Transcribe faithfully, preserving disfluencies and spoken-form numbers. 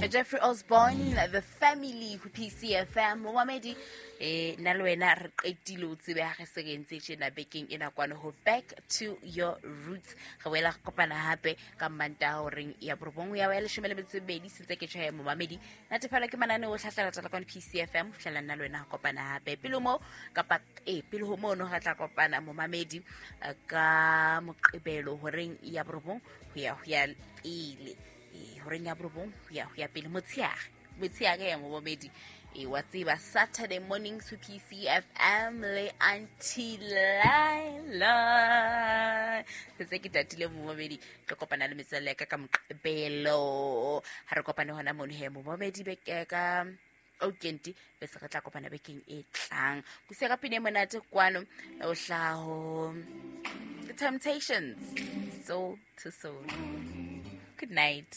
Jeffrey Osborne, The Family ho P C F M. Momamedi, eh, nna le wena re qetile o tsebe ha re se re entse tjena bekeng ena kwano ho Back to Your Roots. Re boela re kopana hape ka Mantaha horeng ya borobong ya ya leshome le metso e mebedi, sentse ke tjho ya momamedi. Natefela ke mananeo o hlahlela tswala kwano P C F M, ho fihlela nna le wena re kopana hape. Pele ho moo, kapa, eh, pele ho mono re tla kopana momamedi, eh, ka Moqebelo horeng ya borobong ho ya ho ya pele. Eh, horeng ya borobong ho ya ho ya pele motsheare. Motsheare ya momamedi. Eh, wa tseba Saturday mornings ho P C F M le Auntie Laila. Se ke tatile momamedi, tlo kopana le metswalle ya ka ka Moqebelo. Ha re kopane hona mono he momamedi beke ka Okenti, bese re tla kopana bekeng e tlang. Kusiya ka pina e monate kwano, o hlaha ho The Temptations, Soul to Soul. Good night.